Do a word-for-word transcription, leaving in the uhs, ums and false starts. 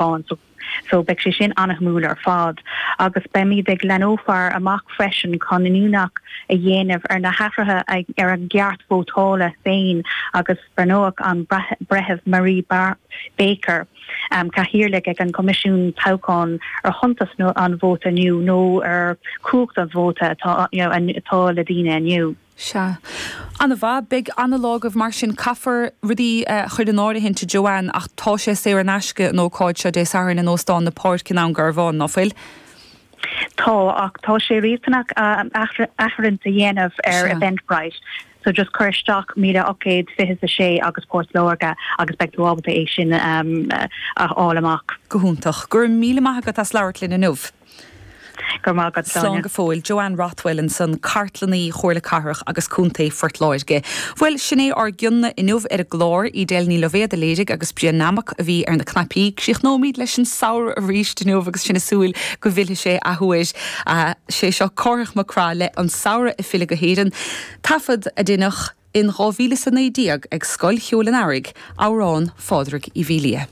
toghchán so so beidh sé sin an-shuimiúil ar fad agus beimid ag leathnófar amach freisin chun iniúchadh a dhéanamh ar na hathruithe ar an gceart vótála féin agus breathnóidh an breitheamh Marie Bar Baker um, cathaoirleach ag an Coimisiún Toghcháin ar shuntas nó an vóta inniu nó ar chumhacht an vóta atá you know, atá le daoine inniu. Sea. An-mhaith beidh an-lá agaibh mar sin caithfear rudaí uh, chur in áirithe Joanne ach tá sé saor in aisce an ócáid seo Dé Sathairn in Óstán na Páirce i nDún Garbhán nach bhfuil? Tá ach tá sé riachtanach áirithint a dhéanamh ar Eventbrite. So just cuir isteach míle ocht gcéad fiche a sé agus Port Láirge agus beidh tú ábalta é sin um, a fháil amach. Go hiontach, gur míle maith agat as labhairt linn inniu. Gur má Slán go fóill Joanne Rothwell ansan cartlannaí Chomhairle Cathrach agus Contae Phort Láirge. Bhuel sin é ár gcion inniu ar an gclár Edel Ní Loibhéad a léirigh agus Brian Nammock a bhí ar na cnaipí, Críochnóimid leis an samhradh arís inniu agus sinn ag súil go bhfillfidh sé athuair sé seo Cárthach Mac Craith le an samhradh ag filleadh go hÉirinn. Taifead a deineadh in dhá mhíle is a naoi déag ag Scoil Cheoil an Earraigh, amhrán Phádraig Uí Mhaoildhia.